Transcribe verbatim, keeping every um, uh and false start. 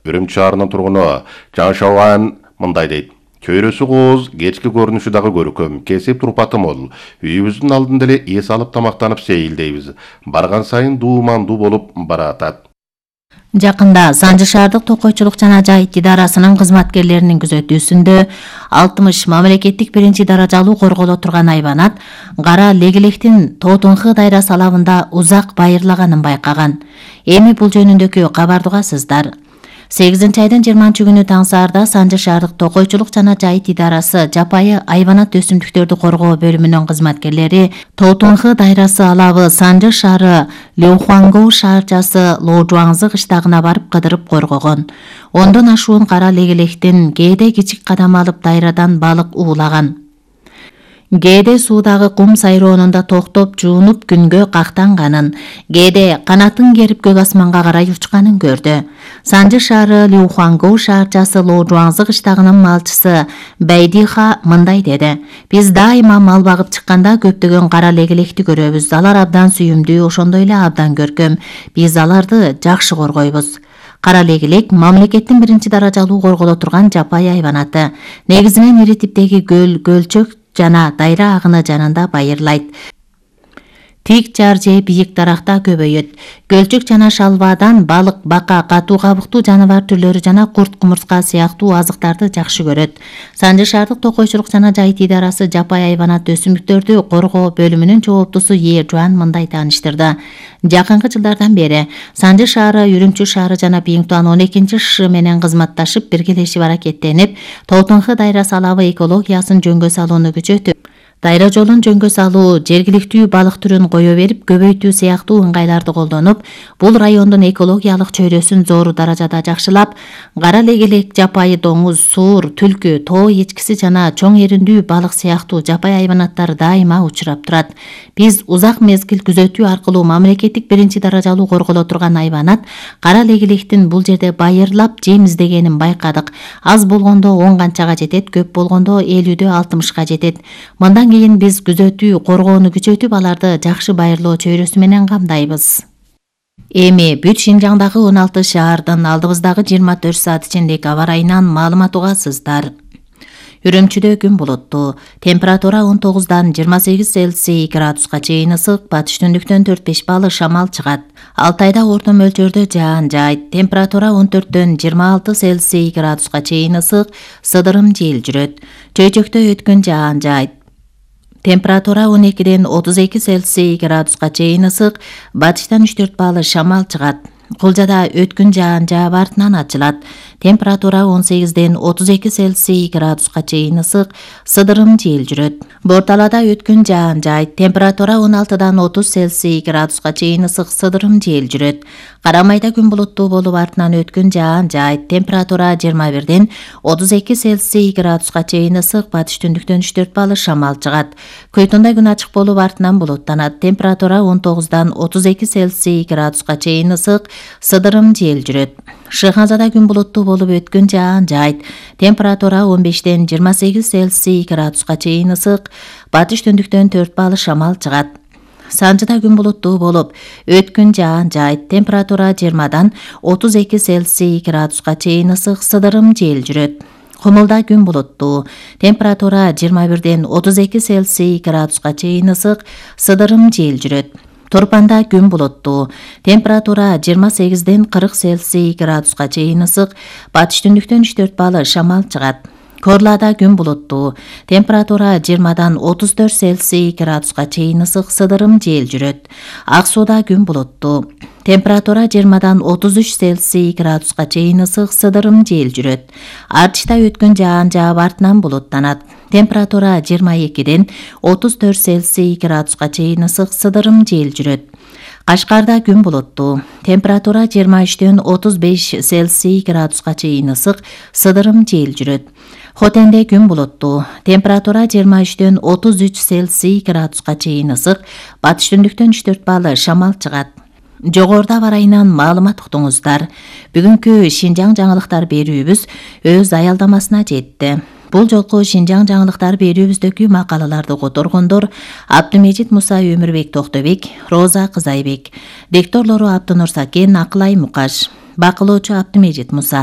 Үрүмчү шаарынын тургуну Жан Шаван мындай дейт. Чөйрөсү кооз, кечки көрүнүшү дагы көркөм, кесип турпаты мол. Үйүбүздүн алдында эле эс алып тамактанып сейилдейбиз. Барган сайын дуумандуу болуп баратат. Жакында Санжы шаардык токойчулук жана жайыт идарасынын кызматкерлеринин күзөтүүсүндө алтымыш мамлекеттик биринчи даражалуу корголо турган айванат кара легилектин Тоотунхы дайрасы алабында узак байырлаганын байкаган. Эми бул жөнүндөгү кабарды угасыздар. сегизинчи айдын жыйырманчы күнү таң саарда Санжы шаардык токойчулук жана жайыт идарасы жапайы айванат өсүмдүктөрдү коргоо бөлүмүнүн кызматкерлери Тоотунхы дайрасы алабы Санжы шаары Леухуангоу шаарчасы Лоожуаңзы кыштагына барып кыдырып коргогон. Ондон ашуун кара легилектин кээде кичик кадам алып дайрадан балык уулаган. Кээде суудагы кум сайроонунда токтоп жуунуп күнгө кактанганын, кээде канатын керип көк асманга карай учканын көрдү. Санжы шаары Леухуангоу шаарчасы Лоожуаңзы кыштагынын малчысы Байдиха мындай деди. Биз дайыма мал багып чыкканда көптөгөн кара легилекти көрөбүз. Алар абдан сүйүмдүү, ошондой эле абдан көркөм. Биз аларды жакшы коргойбуз. Кара легилек мамлекеттин биринчи даражалуу корголо турган жапайы айванаты. Негизинен ири типтеги көл, көлчөк жана дайра агыны жанында байырлайт. Тик жар же бийик даракта көбөйөт. Көлчөк жана шалбаадан балык, бака, катуу кабыктуу жаныбар түрлөрү жана курт, кумурска сыяктуу азыктарды жакшы көрөт. Санжы шаардык токойчулук жана жайыт идарасы жапайы айванат өсүмдүктөрдү коргоо бөлүмүнүн жооптусу Е Жуан мындай тааныштырды. Жакынкы жылдардан бери Санжы шаары Үрүмчү шаары жана Биңтуан он экинчи ШШ менен кызматташып биргелешип аракеттенип, Тоотунхы дайрасы алабы экологиясын жөнгө салууну күчөтүп, дайра жолун жөнгө салуу, жергиликтүү балык түрүн кое берип көбөйтүү сыяктуу ыңгайларды колдонуп, бул райондун экологиялык чөйрөсүн зор даражада жакшылап, кара легилек, жапайы доңуз, суур, түлкү, тоо эчкиси жана чоң эриндүү балык сыяктуу жапайы айванаттар дайыма учурап турат. Биз узак мезгил күзөтүү аркылуу мамлекеттик биринчи даражалуу корголо турган айванат кара легилектин бул жерде байырлап жем издегенин байкадык. Аз болгондо он канчага жетет, көп болгондо элүүдө алтымышка жетет. Мындан кийин биз күзөтүү, коргоону күчөтүп, аларды жакшы байырлоо чөйрөсү менен камдайбыз. Эми бүт Шинжаңдагы он алты шаардын алдыбыздагы жыйырма төрт саат ичиндеги аба ырайынан маалымат угасыздар. Үрүмчүдө күн булуттуу, температура он тогуздан жыйырма сегиз Цельсий градуска чейин ысык, батыш түндүктөн төрт беш балл шамал чыгат. Алтайда орто мөлчөрдө жаан жайт, температура он төрттөн жыйырма алты Цельсий градуска чейин ысык, сыдырым жел жүрөт. Чөйчөктө өткөн жаан жайт. Температура он экиден отуз эки Цельсий градуска чейин ысык, батыштан үч төрт балл шамал чыгат. Кулжада өткүн жаан жаап артынан ачылат. Температура он сегизден отуз эки Цельсий градуска чейин ысык, сыдырым жел жүрөт. Борталада өткүн жаан жайт. Температура он алтыдан отуз Цельсий градуска чейин ысык, сыдырым жел жүрөт. Карамайда күн булуттуу болуп артынан өткүн жаан жайт. Температура жыйырма бирден отуз эки Цельсий градуска чейин ысык, батыш түндүктөн үч төрт балл шамал чыгат. Көйтүндө күн ачык болуп артынан булуттанат. Температура он тогуздан отуз эки Цельсий градуска чейин ысык, сыдырым жел жүрөт. Шыханзада күн булуттуу болуп өткүн жаан жайт. Температура он бештен жыйырма сегиз Цельсий градуска чейин ысык, батыш түндүктөн төрт балл шамал чыгат. Санжыда күн булуттуу болуп өткүн жаан жайт. Температура жыйырмадан отуз эки Цельсий градуска чейин ысык, сыдырым жел жүрөт. Кумулда күн булуттуу. Температура жыйырма бирден отуз эки Цельсий градуска чейин ысык, сыдырым жел жүрөт. Торпанда күн булуттуу. Температура жыйырма сегизден кырк Цельсий градуска чейин ысык, батыш түндүктөн үч төрт балл шамал чыгат. Корлада күн булуттуу. Температура жыйырмадан отуз төрт Цельсий градуска чейин ысык, сыдырым жел жүрөт. Ак сууда күн булуттуу. Температура жыйырмадан отуз үч Цельсий градуска чейин ысык, сыдырым жел жүрөт. Артышта өткөн жаан жаап артынан булуттанат. Температура жыйырма экиден отуз төрт Цельсий градуска чейин ысык, сыдырым жел жүрөт. Кашкарда күн булуттуу. Температура жыйырма үчтөн отуз беш Цельсий градуска чейин ысык, сыдырым жел жүрөт. Хотенде күн булуттуу. Температура жыйырма үчтөн отуз үч Цельсий градуска чейин ысык, батыш түндүктөн үч төрт балл шамал чыгат. Жогоруда барайынан маалымат уктуңуздар. Бүгүнкү Шинжаң жаңылыктар берүүбүз өз аялдамасына жетти. Бул жолку Шинжаң жаңылыктар берүүбүздөгү макалаларды которгондор Абдымежит Муса, Өмүрбек Токтобек, Роза Кызайбек. Дикторлору Абдынур Сакен, Акылай Мукаш. Бакылоочу Абдымежит Муса.